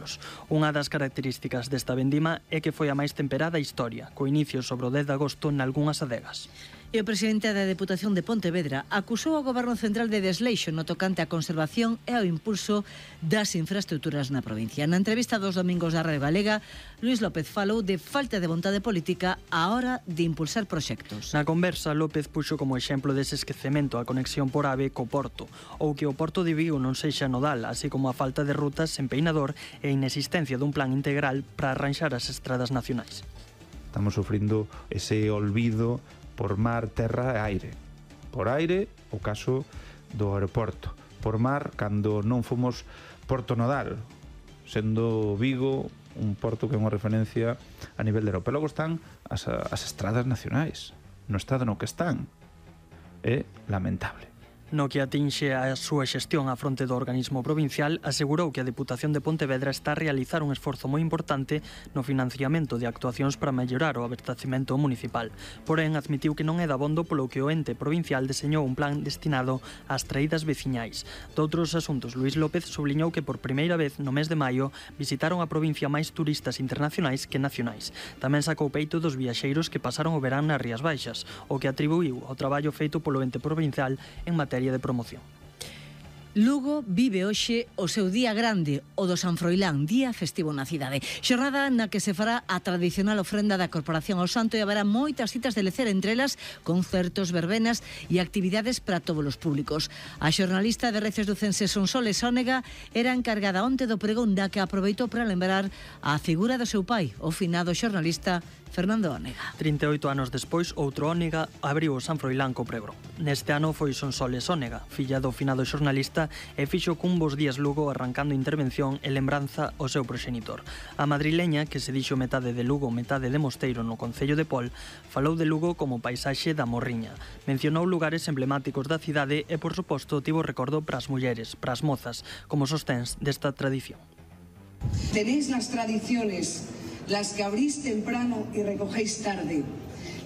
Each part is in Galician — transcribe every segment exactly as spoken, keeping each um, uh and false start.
kilos. Unha das características desta vendima é que foi a máis temperada da historia, co inicio sobre o dez de agosto nalgunhas adegas. E o presidente da Deputación de Pontevedra acusou ao Goberno Central de desleixo no tocante á conservación e ao impulso das infraestructuras na provincia. Na entrevista dos domingos da Radio Galega, Luís López falou de falta de vontade política á hora de impulsar proxectos. Na conversa, López puxo como exemplo dese esquecemento a conexión por ave co Porto, ou que o Porto de Vigo non sexa nodal, así como a falta de rutas en Peinador e a inexistencia dun plan integral para arranxar as estradas nacionais. Estamos sufrindo ese olvido por mar, terra e aire. Por aire, o caso do aeroporto. Por mar, cando non fomos porto nodal, sendo Vigo un porto que é unha referencia a nivel de Europa. E logo están as, as estradas nacionais, no estado no que están. É lamentable. No que atinxe a súa xestión á fronte do organismo provincial, asegurou que a Deputación de Pontevedra está a realizar un esforzo moi importante no financiamento de actuacións para mellorar o abastecemento municipal. Porén, admitiu que non é dabondo polo que o ente provincial deseñou un plan destinado ás traídas veciñais. Doutros asuntos, Luís López subliñou que por primeira vez no mes de maio visitaron a provincia máis turistas internacionais que nacionais. Tamén sacou peito dos viaxeiros que pasaron o verán nas Rías Baixas, o que atribuiu ao traballo feito polo ente provincial en materia de promoción. Lugo vive hoxe o seu día grande, o do San Froilán, día festivo na cidade. Xornada na que se fará a tradicional ofrenda da Corporación ao Santo e haberá moitas citas de lecer, entre elas concertos, verbenas e actividades para todos os públicos. A xornalista de Reces Ducense Sonsoles Ónega era encargada onte do pregón, da que aproveitou para lembrar a figura do seu pai, o finado xornalista Fernando Ónega. trinta e oito anos despois, outro Ónega abriu o San Froilán co pregón. Neste ano foi Sonsoles Ónega, filla do finado xornalista, e fixo cun Bos Días Lugo arrancando intervención e lembranza ao seu proxenitor. A madrileña, que se dixo metade de Lugo, metade de Mosteiro no concello de Pol, falou de Lugo como paisaxe da Morriña. Mencionou lugares emblemáticos da cidade e, por suposto, tivo recordo para as mulleres, para as mozas, como sosténs desta tradición. Tenéis las tradiciones, las que abrís temprano y recogéis tarde,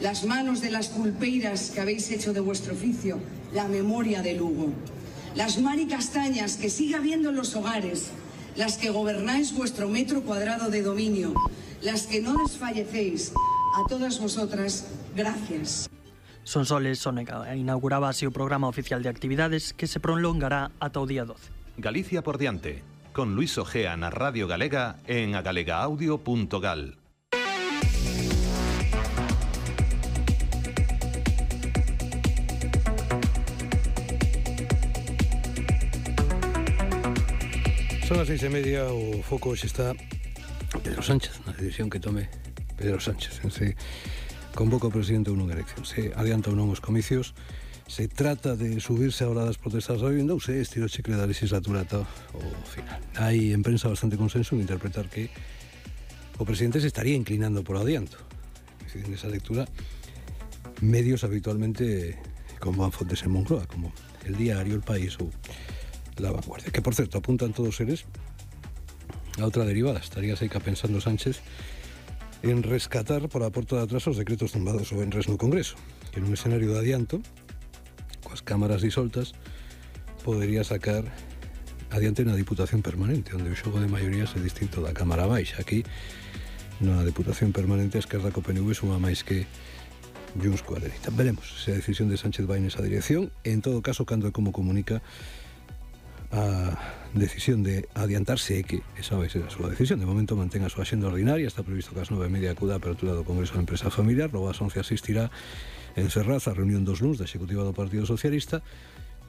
las manos de las pulpeiras que habéis hecho de vuestro oficio, la memoria de Lugo. Las maricastañas que sigue habiendo en los hogares, las que gobernáis vuestro metro cuadrado de dominio, las que no desfallecéis, a todas vosotras, gracias. Sonsoles Ónega inauguraba así o programa oficial de actividades que se prolongará ata o día doce. Galicia por diante, con Luís Ojea na Radio Galega en agalegaudio punto gal. Son as seis e media, o foco hoxe está Pedro Sánchez, na decisión que tome Pedro Sánchez. Se convoca o presidente ou non elección, se adianta ou non os comicios, se trata de subirse a hora das protestas da vivenda ou se estira o chicle da legislatura ata o final. Hai en prensa bastante consenso en interpretar que o presidente se estaría inclinando por adianto. En esa lectura, medios habitualmente con van fontes en Moncloa, como El Diario, El País ou La Vanguardia, que por certo apuntan todos eles a outra derivada. Estaría seica pensando Sánchez en rescatar por a porta de atrás os decretos tumbados o venres no Congreso, que nun escenario de adianto, coas cámaras disoltas, podería sacar adiante na Diputación Permanente, onde o xogo de maiorías é distinto da Cámara Baixa. Aquí, na Diputación Permanente, a Esquerda co P N V suma máis que Junts coa dereita. Veremos se a decisión de Sánchez vai nesa dirección, e en todo caso, cando e como comunica a decisión de adiantarse é que esa vai ser a súa decisión. De momento mantén a súa axenda ordinaria, está previsto que ás nove e media acuda a apertura do Congreso de Empresa Familiar, logo ás once asistirá en Ferraz a reunión dos luns da Executiva do Partido Socialista.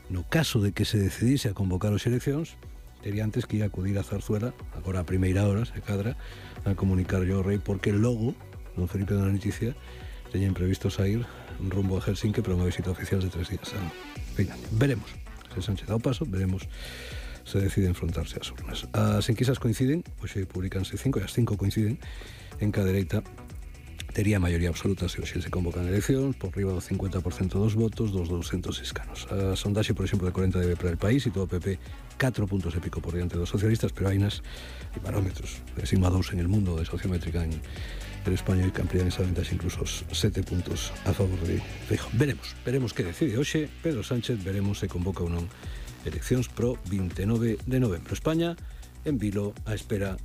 No caso de que se decidise a convocar as eleccións, tería antes que ir a acudir a Zarzuela, agora a primeira hora, se cadra, a comunicar yo ao rei, porque logo, don Felipe da Noticia, teñen previsto sair rumbo a Helsinki para unha visita oficial de tres días a Finlandia. Veremos. Se Sánchez dá o paso, veremos se decide enfrontarse ás urnas. As enquisas coinciden, hoxe publicanse cinco, e as cinco coinciden en que a dereita tería maioría absoluta se hoxe se convocan eleccións, por riba do cincuenta por cento dos votos dos douscentos escanos. A sondaxe, por exemplo, de corenta debe para El País e todo o P P catro puntos e pico por diante dos socialistas, pero hai nas e barómetros de sigma dous en el mundo, de sociométrica en el España, que amplían esa ventaxa incluso os sete puntos a favor de Feijóo. Veremos, veremos que decide hoxe Pedro Sánchez, veremos se convoca ou non eleccións pro vinte e nove de novembro. España en vilo a espera